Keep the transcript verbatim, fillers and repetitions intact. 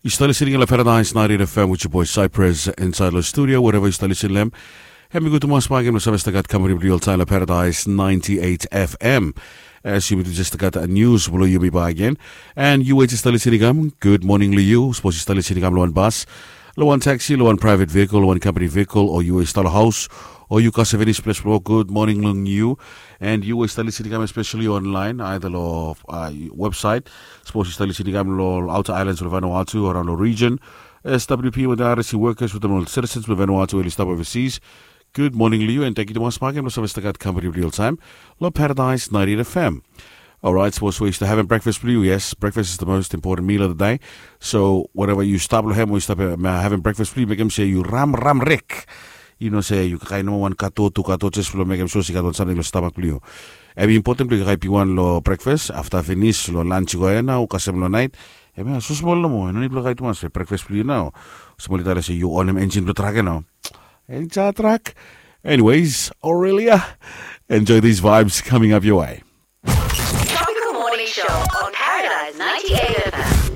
Yu stap listening long Paradise ninety-eight F M with your boy Cypress inside the studio, wherever yu stap listening long. Hem i gud tumas bak lo save stap gat company blo yu oltaem lo Paradise ninety-eight F M. As yumi tu jes stap gat news blo yumi bak. And yu we jes stap listening, good morning lo yu. Sapos yu stap listening lo wan bus, lo wan taxi, lo wan private vehicle, lo wan company vehicle, o yu we stap lo haos, o yu kasem finis ples blo wok, good morning long yu. And yu we stap listening, especially online, either lo uh, website. Sapos yu stap listening lo outer islands lo Vanuatu, around lo region, S W P with the R S C workers, with the citizens lo Vanuatu, we yu stap overseas. Good morning lo yu, and thank you tumas bak lo save stap gat company blo yu oltaem lo Paradise ninety-eight F M. Alright, sapos we yu stap having breakfast blo yu, yes, breakfast is the most important meal of the day. So wherever yu stap lo hem, we yu stap uh, having breakfast blo yu, mekem se yu ram ram rek. Yu no se yu kakae nomo wan kato, tu kato, jes blo mekem sua se i gat wan samting lo stamak blo yu. Hem i important blo yu kakae bigwan lo breakfast, afta finis lo lunch i go ya nao, kasem lo naet. Hem ya so smol nomo, no nid blo kakae tumas, breakfast blo yu nao. Smol i talem se yu onem engine blo trak ya nao. Engine trak. Anyways, Aurelia, enjoy these vibes coming up your way. Tropical Morning Show on Paradise ninety-eight F M.